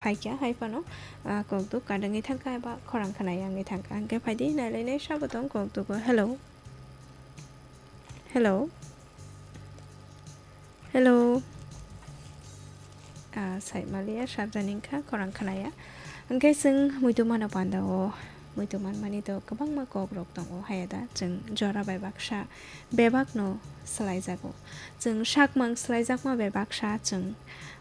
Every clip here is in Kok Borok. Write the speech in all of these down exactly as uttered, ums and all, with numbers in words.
Phaikha, hai phano, ah, kokduk kadangwi thangkha eba khorang khwnai wngwi thangkha. Hwnkhe phaidi nailainai sabo tong kokdugo. Hello. Hello. Hello. Ah, saimaliya, sarjani wngkha, khorang khwnaya. Hwnkhe chwng muitu mano panda o, muitu manmani to kwbangma kokrok tongo, hayada chwng jora bai baksa bebakno swlaijago. Chwng sakmang swlaijakma bai baksa chwng,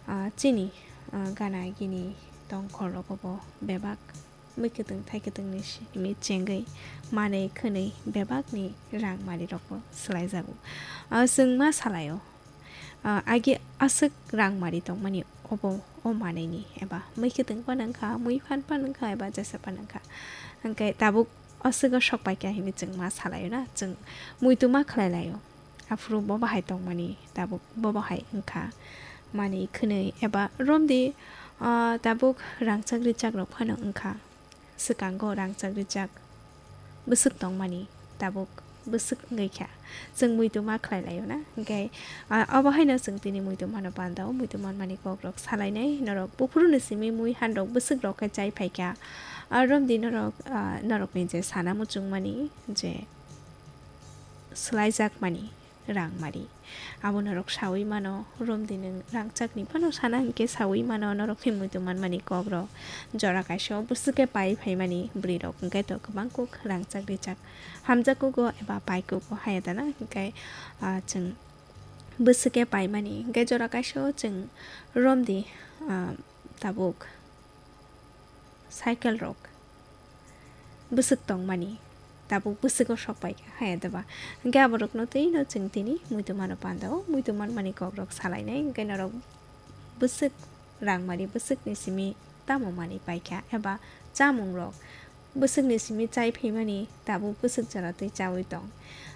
ah, chini, ah, gana gini tongkhor rogo bo bebak mui kwtwng thai kwtwngni simi chengwi manwi khwnwi bebakni rang mari rokbo swlaijago. Ah, chwng ma salaio, ah, agi aswk rang mari tongmani obo o manwini eba mui kwtwng phano wngkha, mui phan phano wngkha eba jesa phano wngkha. Hwnkhe tabuk aswk o sok paikha hinwi chwng ma salaio na, chwng muitu ma khlai laio. Aphuru bo bahai tongmani tabuk bo bahai wngkha manwi khwnwi eba romdi, ah, tabuk rangchak richak rok phano wngkha. Swkango rangchak richak bwswk tongmani tabuk bwswk wngwi kha. Chwng muitu ma khlai laio na? Hwnkhe, ah, obo haino chwng tini muitu mano panda o muitu manmani kokrok salainai. Norok buphuruni simi mui hanrok bwswk rok khe chai phaikha. Ah, romdi norok, ah, norokni je sana muchungmani je swlaijakmani rang mari. Abo norok sawi mano, romdi nwng rangchakni phano sana hinkhe sawi mano, norokni muitu manmani kokrok. Jora kaisa o bwswk khe pai phaimani bwrwirok hinkhe to kwbang kuk rangchak richak hamjakkugo eba paikkugo hayadana hinkhe, ah, chwng bwswk khe paimani hinkhe jora kaisa o chwng romdi, ah, tabuk cycle rok bwswk tongmani tabuk bwswk o sok paikha haya deba. Hwnkhe aborokno twino chwng tini muitu mano panda o muitu manmani kokrok salainai. Hwnkhe norok bwswk rang mari bwswkni simi tamo manwi paikha eba chamung rok bwswkni simi chai phaimani tabuk bwswk jora twi chawi tong.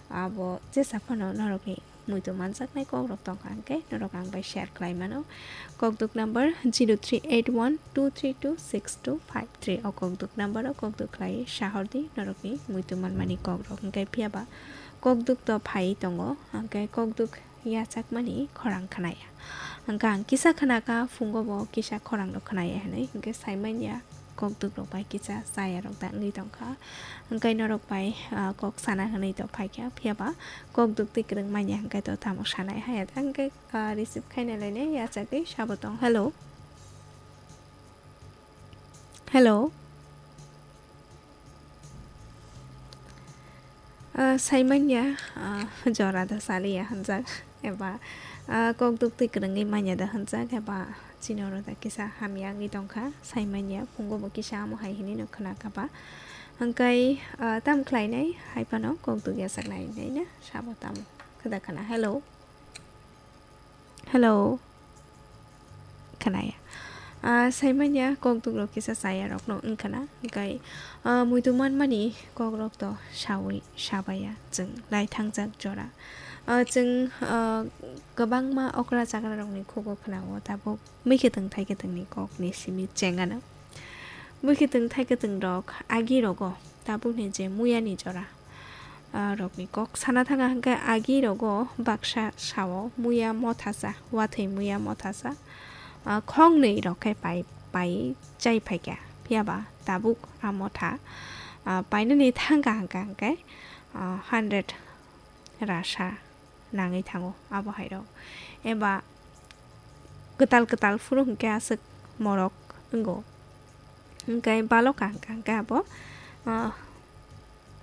Abo jesa phano norokni muitu manjaknai kokrok tongkha, hwnkhe norok ang bai share khlai mano. Kokduk number zero three eight one two three two six two five three. O kokduk number o kokduk khlai sahordi norokni muitu manmani kokrok. Hwnkhe phiyaba kokduk to phai tongo, hwnkhe kokduk yachakmani khorang khnaya. Hwnkhe ang kisa khnakha, phungo bo kisa khorang rok khnaya hinwi, hwnkhe saimanya. Kokduk rok bai kisa chaya rok da wngwi tongkha. Hwnkhe norok bai, ah, kok sana hinwi to phaikha, phiyaba kokduk twi kwrwng manya hwnkhe to tamo sanai haya da hwnkhe, ah, receive khaina lainai yachagwi sabo tong. Hello. Hello. Ah, saimanya, ah, jora da saliya hwnjak, eba, ah, kokduk twi kwrwngwi manya da hwnjak, eba chini oro da kisa hamya wngwi tongkha, saimanya, phungo bo kisa amo hai hinwi no khwnakha ba. Hwnkhe, ah, tam khlainai, hai phano kokduk yachaknai nai na, sabo tamo khwda khwna. Hello. Hello. Khnaya. Ah, saimanya kokduk rok kisa chaya rokno wngkhana. Hwnkhe, ah, muitu manmani kokrok to sawi sabaya chwng lai thangjak jora. Ah, chwng, ah, kwbangma okra chakra rokni khugo khwnao tabuk mui kwtwng thai kwtwngni kokni simi chengano. Mui kwtwng thai kwtwng rok agi rogo tabukni je muyani jora, ah, rokni kok sana thanga hwnkhe agi rogo baksa sao muya mothasa, wathwi muya mothasa, ah, khongnwi rok khe pai, pai chai phaikha. Phiyaba tabuk a motha, ah, painani thangkha hwnkha hwnkhe, ah, hundred rasa nangwi thango abo hai rok. Eba kwtal kwtal phuru hwnkhe aswk morok wngo. Hwnkhe baloka hwnkha hwnkhe abo, ah,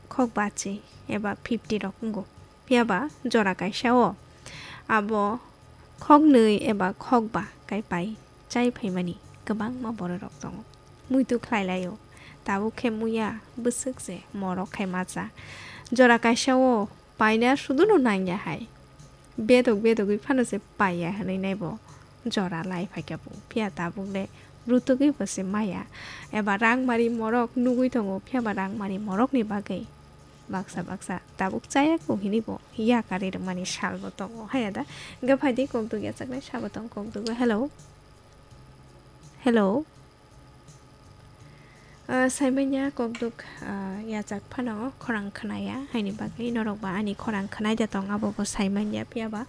khok bachi eba fifty rok wngo. Phiyaba jora kaisa o abo khoknwi eba khokba kai pai chai phaimani kwbangma bororok tongo. Muitu khlai laio. Tabuk khe muya bwswk se morok khai ma cha. Jora kaisa o paina suduno nangya hai. Bedok bedogwi phano se paiya hwnwi naibo jora lai phaikha bo. Phiya tabuk le brutugwi bo se maya. Eba rang mari morok nugwi tongo, phiyaba rang mari morokni bagwi baksa baksa tabuk chaya kho hinwi bo yakari rwmani salbo tongo. Haya da? Hwnkhe phaidi kokduk yachaknai sabo tong kokduk. Hello. Hello. Ah, saimanya kokduk, ah, yachak phano khorang khnaya, haini bagwi norok ba ani khorang khnaida tong, abo bo saimanya, phiyaba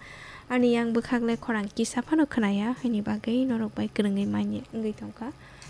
ani yang bwkhak le khorang kisa phano khnaya, haini bagwi norok bai kwrwngwi manya wngwi tongkha.